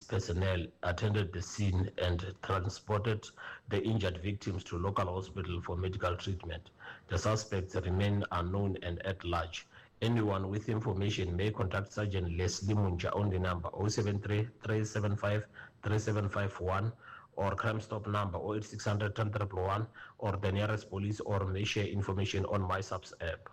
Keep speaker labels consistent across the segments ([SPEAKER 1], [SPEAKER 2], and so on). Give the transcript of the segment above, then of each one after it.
[SPEAKER 1] personnel attended the scene and transported the injured victims to local hospital for medical treatment. The suspects remain unknown and at large. Anyone with information may contact Sergeant Leslie Munja on the number 073 375 3751 or Crime Stop number 08600 10 111 or the nearest police or may share information on MySAPS app.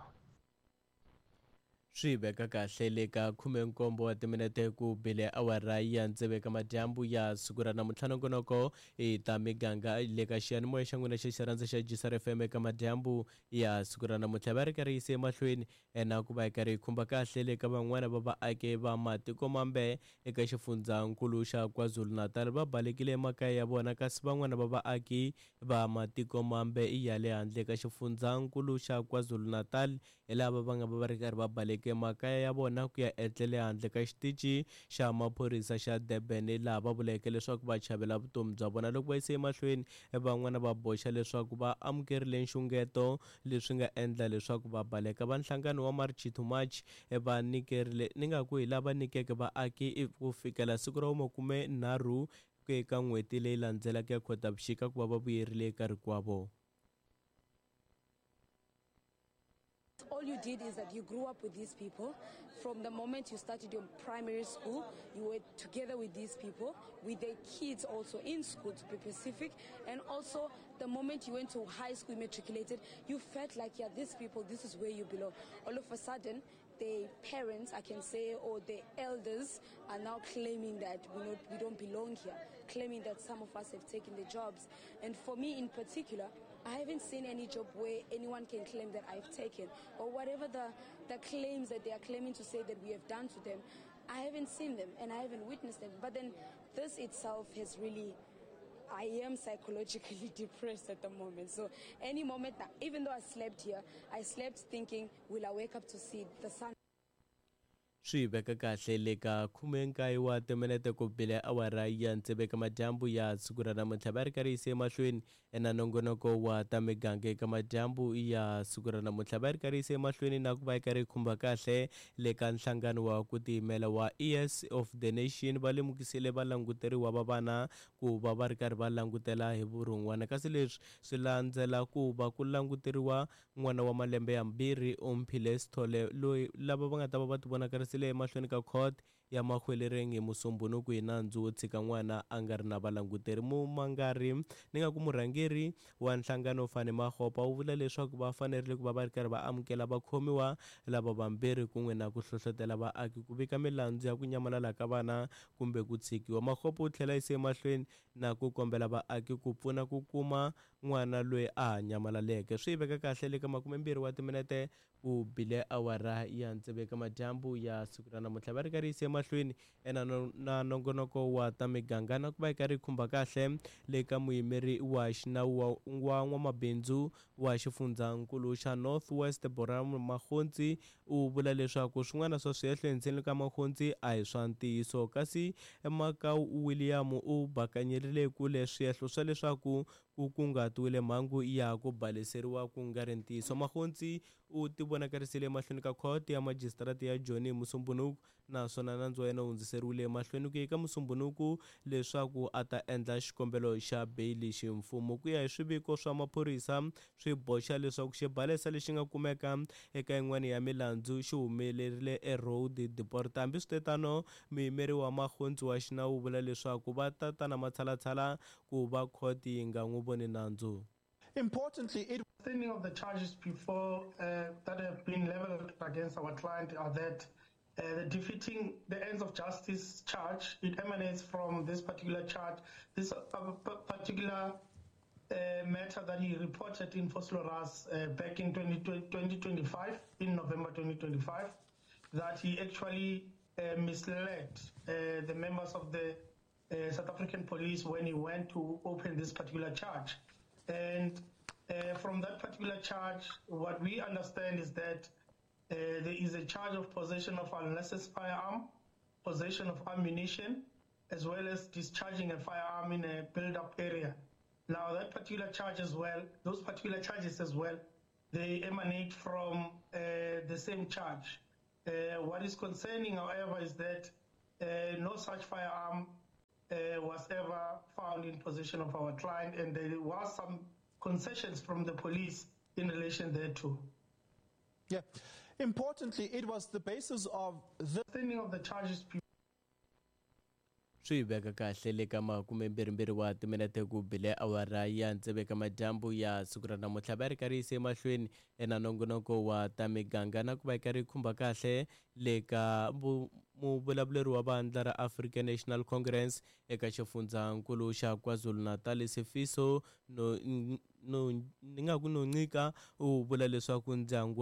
[SPEAKER 2] Swi veka kahle le ka khumenkombo wa timinete ku bile awara ya tsevu eka madyambu ya siku ra namuntlha. Nongonoko i ta miganga le ka xiyanimoya xa n'wina xa xirhandza xa Gisar FM eka madyambu ya siku ra namuntlha. Va ri karhi yise emahlweni na ku va hi karhi hi khumba kahle le ka van'wana va vaaki va matiko mambe eka xifundzankulu xa KwaZulu-Natal va balekile emakaya ya vona, kasi van'wana va vaaki va matiko mambe ya le handle ka xifundzankulu xa KwaZulu-Natal hi lava va nga va va ri karhi va baleke makaya ya vona ku ya etlele handle ka xitichi xa maphorisa xa Durban, laha va vuleke leswaku va chavela vutomi bya vona. Loko va yise emahlweni, van'wana va boxa leswaku va amukerile nxungeto, leswi nga endla leswaku va baleka. Va nhlangano wa March to March va nyikerile, ni nga ku hi lava nyikeke vaaki ku fikela siku ra vumakume-nharhu eka n'hweti leyi landzelaka ya Khotavuxika ku va va vuyerile eka rikwavo.
[SPEAKER 3] All you did is that you grew up with these people. From the moment you started your primary school, you were together with these people, with their kids also in school, to be specific. And also, the moment you went to high school, you matriculated, you felt like, yeah, these people, this is where you belong. All of a sudden, the parents, I can say, or the elders are now claiming that we don't belong here, claiming that some of us have taken the jobs. And for me in particular, I haven't seen any job where anyone can claim that I've taken, or whatever the claims that they are claiming to say that we have done to them. I haven't seen them and I haven't witnessed them. But then this itself has really, I am psychologically depressed at the moment. So any moment now, even though I slept here, I slept thinking, will I wake up to see the sun?
[SPEAKER 2] Swi veka kahle le ka khumenkaye wa timinete ku bile awara ya tsevu eka madyambu ya siku ra namuntlha. Va ri karhi yise emahlweni na nongonoko wa ta miganga eka madyambu ya siku ra namuntlha. Va ri karhi yise emahlweni na ku va yi karhi yi khumba kahle le ka nhlangano wa ku tiyimela wa Ears of the Nation. Va lemukisile valanguteriwa va vana ku va va ri karhi va langutela hi vurhon'wana, kasi leswi swi landzela ku va ku languteriwa n'wana wa malembe yambirhi Omphile Sithole, loyi lava va nga ta va va tivonakarisile emahlweni ka court ya Mahwelereng hi Musumbhunuku hi nandzu wo tshika n'wana a nga ri na valanguteri. Mumangari ni nga ku murhangeri wa nhlangano Fani Magopa u vula leswaku va fanerile ku va va ri karhi va amukela vakhomiwa lava vambirhi kun'we na ku hlohlotela vaaki ku vika milandzu ya ku nyamalala ka vana kumbe ku tshikiwa. Magopa u tlhela yise emahlweni na ku kombela vaaki ku pfuna ku kuma n'wana loyi a ha nyamalaleke. Swi veka kahle le ka makumembirhi wa timinete ku bile awara ya tsevu eka madyambu ya siku ra namuntlha. Va ri karhi yise emahlweni na nongonoko wa ta miganga na ku va yi karhi yi khumba kahle le ka muyimeri wa xinawu wa n'wamabindzu wa xifundzankulu xa North West Boram Magontsi u vula leswaku swin'wana swa swihehlo henhleni ka Magontsi a hi swa ntiyiso, kasi Makau William u bakanyerile kule swihehlo swa leswaku ku kunguhatiwile mhangu ya ku baleseriwa ku nga ri ntiyiso. Magontsi u tivonakarisile emahlweni ka khoto ya majisitarata ya Joni hi Musumbhunuku, naswona nandzu wa yena wu hundziseriwile emahlweni ku ya eka Musumbhunuku leswaku a ta endla xikombelo xa beyili ximfumo. Ku ya hi swiviko swa maphorisa, swi boxa leswaku xibalesa lexi nga kumeka eka yin'wana ya milandzu xi humelerile eRoad Deport. Hambiswiritano, muyimeri wa Magontsi wa xinawu u vula leswaku va ta ta na matshalatshala ku va khoto yi nga n'wi voni nandzu.
[SPEAKER 4] Importantly, it
[SPEAKER 5] standing of the charges before that have been leveled against our client are that the defeating the ends of justice charge, it emanates from this particular charge, this particular matter that he reported in Vosloorus back in 2025, in November 2025, that he actually misled the members of the South African police when he went to open this particular charge. And from that particular charge, what we understand is that there is a charge of possession of unlicensed firearm, possession of ammunition, as well as discharging a firearm in a built-up area. Now, that particular charge as well, those particular charges as well, they emanate from the same charge. What is concerning, however, is that no such firearm. was ever found in possession of our client, and there was some concessions from the police in relation thereto.
[SPEAKER 4] Yeah. Importantly, it was the basis of the
[SPEAKER 5] standing of the charges.
[SPEAKER 2] Swi veka kahle le ka 22 wa timinete ku bile awara ya tsevu eka madyambu ya siku ra namuntlha. Va ri karhi yise emahlweni na nongonoko wa ta miganga na ku va yi karhi yi khumba kahle le ka muvulavuleri wa vandla ra African National Congress eka xifundzankulu xa KwaZulu-Natal, Sifiso no no ni nga ku Nonqika, u vula leswaku ndyangu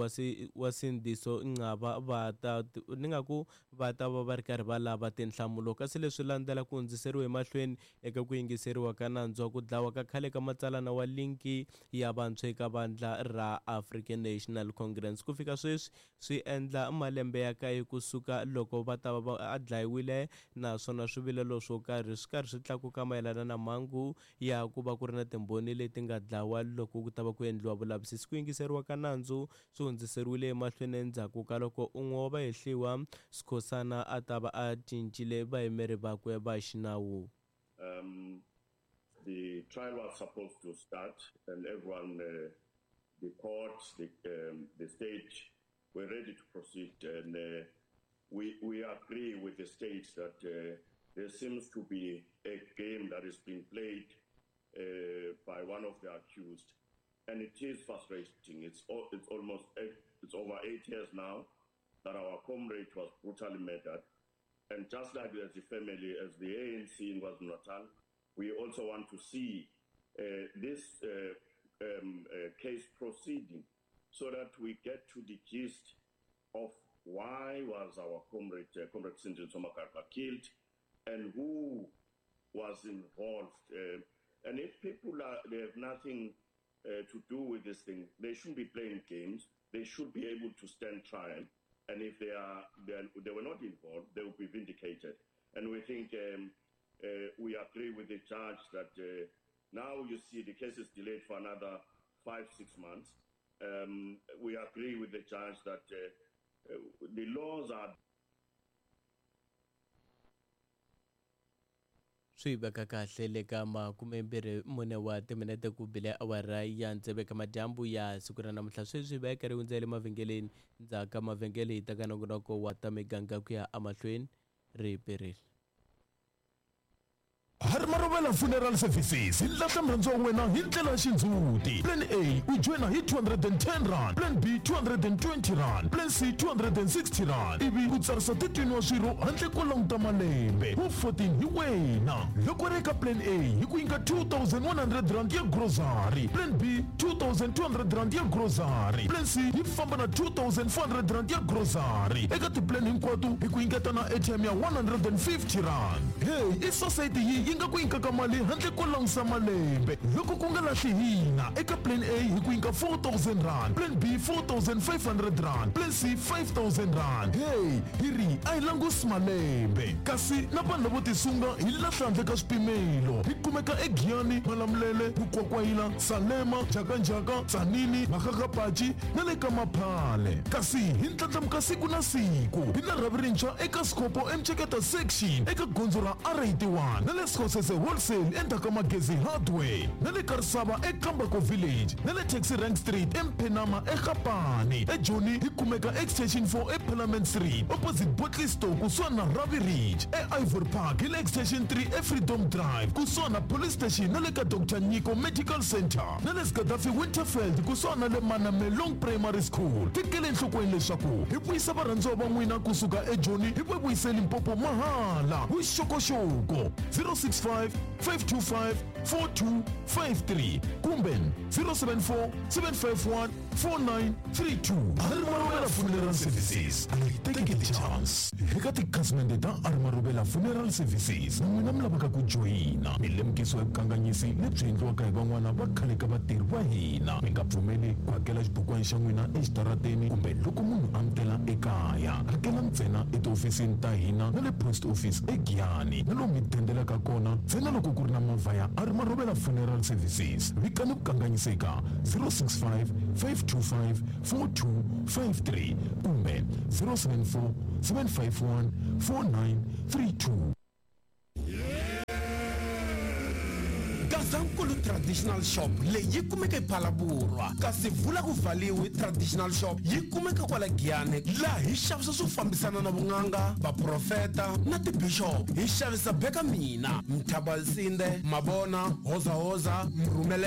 [SPEAKER 2] wa Sindiso Nqaba va ta ni nga ku va ta va va ri karhi va lava tinhlamulo. Kasi leswi landzela ku hundziseriwa emahlweni eka ku yingiseriwa ka nandzu wa ku dlawa ka khale ka matsalana wa linki ya vantshwa eka vandla ra African National Congress. Ku fika sweswi swi endla malembe ya kaye kusuka loko va ta va a dlayiwile, naswona swivilelo swo karhi swi karhi swi tlakuka mayelana na mhangu ya ku va ku ri na timbhoni leti nga dlawa loko ku ta va ku endliwa vulavisisi. Ku yingiseriwa ka nandzu swi hundziseriwile emahlweni endzhaku ka loko un'we wa vahehliwa, Skhosana, a ta va a cincile vayimeri vakwe va xinawu.
[SPEAKER 6] The trial was supposed to start, and everyone, the court, the state, were ready to proceed. And we agree with the state that there seems to be a game that is being played by one of the accused, and it is frustrating. It's over 8 years now that our comrade was brutally murdered, and just like as the family, as the ANC in KwaZulu-Natal, we also want to see this case proceeding so that we get to the gist of why was our comrade, Comrade Sindiso Magaqa, killed, and who was involved. And if people they have nothing to do with this thing, they shouldn't be playing games. They should be able to stand trial. And if they were not involved, they will be vindicated. And we think we agree with the judge that now you see the case is delayed for another 5-6 months. We agree with the judge that the laws are.
[SPEAKER 2] Swi veka kahle le ka 24 wa timinete ku bile awara ya tsevu eka madyambu ya siku ra namuntlha. Sweswi va yi karhi hundzele mavhengeleni, ndzhaku ka mavhengele hi ta ka nongonoko wa ta miganga ku ya emahlweni ri perile.
[SPEAKER 7] Harimarovela Funeral Services hi lahla murhandzi wa wena hi ndlela ya xindzhuti. Plan A u joyina hi 210 rand, Plan B 220 rand, Plan C 260 rand, ivi u tsarisa 13 wa swirho handle ko languta malembe. Wu 14 hi wena. Loko ri eka Plan A hi ku nyika 2100 rand ya grocery, Plan B 2200 rand ya grocery, Plan C yi famba na 2400 rand ya grocery. Eka tiplan hinkwato hi ku nyiketa na ATM ya 150 rand. Hey, i society yi nga ku nyikaka mali handle ko langusa malembe. Loko ku nga lahli hina, eka Plan A hi ku nyika 4000 rand, Plan B 4500 rand, Plan C 5000 rand. Hey, hi ri a hi langusi malembe. Kasi na vanhu lavo tisunga hi lahla handle ka swipimelo. Hi kumeka eGiyani, Malamulele, Mukwakwayila, Salema, Njhakanjhaka, Tzaneen, Makgakgapatshi na le ka Maphale. Kasi hi ndlandlamuka siku na siku. Hi na rhavi rintshwa eka Scopo eMcheketa section eka gondzo ra R81 na le Skhosese Wholesale endzhaku ka Magezi Hardware na le Karisava eKambako Village na le Taxi Rank Street eMphenama eGapani. eJoni hi kumeka Extension 4 eParliament Street opposite Botley Store kusuhani na Ravi Ridge. E-Ivory Park hi le Extension 3 eFreedom Drive kusuhani na Police Station na le ka Dr Nyiko Medical Center na le Gaddafi Winterfeld kusuhani na le Manamelong Primary School. Tekele enhlokweni leswaku hi vuyisa varhandziwa va n'wina kusuka eJoni hi va vuyise Limpopo mahala. Vuxokoxoko 065 525 4253 kumbe 074 751 4932. Arimarobela Funeral Services, a yi tekeli chance. Eka tikhasimende ta Arimarobela Funeral Services, na n'wina mi lavaka ku joyina milemukiso ya vukanganyisi lebyi endliwaka hi van'wana va khale ka vatirhi va hina. Mi nga pfumeli ku hakela xibukwana xa n'wina exitarateni kumbe loko munhu a mi tela ekaya. Hakela ntsena etihofisini ta hina na le post office eGiyani na lomu mi dendelaka kona ntsena loko ku ri na movha ya Arimarobela Funeral Services. Vikani vukanganyiseka 065 525 4253 kumbe 074 751 4932.
[SPEAKER 8] Gazankulu Traditional Shop leyi yi kumeka ePhalaborwa, kasi Vula ku Valiwi Traditional Shop yi kumeka kwala Giyani, laha hi xavisa swo fambisana na vun'anga, vaprofeta na tibixop. Hi xavisa Beka Mina, Mthabalsinde, Mabona, Hozahoza, Mrhumele.